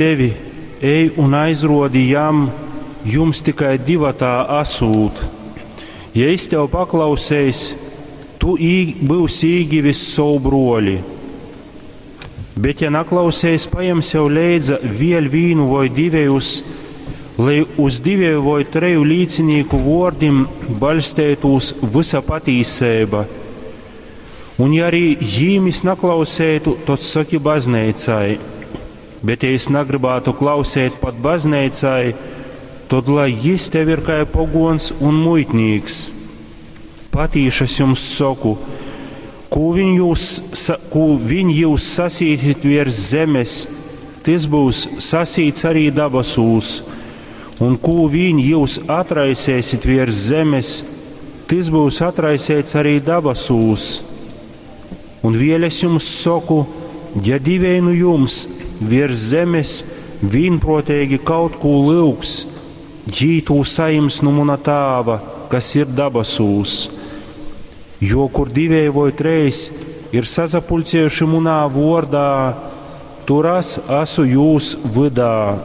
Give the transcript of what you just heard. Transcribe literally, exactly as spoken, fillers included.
Tevi, ej un aizruodi jam, jums tikai divatā asūt. Ja jis tev paklauseis, tu ī, byusi īgivis sovu bruoli. Bet, ja naklauseis, pajem sev leidza vēļ vīnu voi divejus, lai uz diveju voi treju līcinīku vuordim baļsteitūs vysa patīseiba. Un ja arī jīm jis naklauseitu, tod soki bazneicai. Bet, ja jis nagrybātu klauseit pat bazneicai, tod lai jis tev ir kai poguons un muitnīks. Patīši es jums soku, kū viņ jūs, kū viņ jūs sasīsit viers zemes, tys būs sasīts arī dabasūs, un kū viņ jūs atraisēsit viers zemes, tys būs atraiseits arī dabasūs. Un vēļ es jums soku, ja divēji nu jums viers zemes vīnpruoteigi kaut kū lyugs, jī tū sajims nu muna tāva, kas ir dabasūs. Jo kur divēji voi treis ir sasapuļciejuši munā vuordā, tur es asu jūs vydā.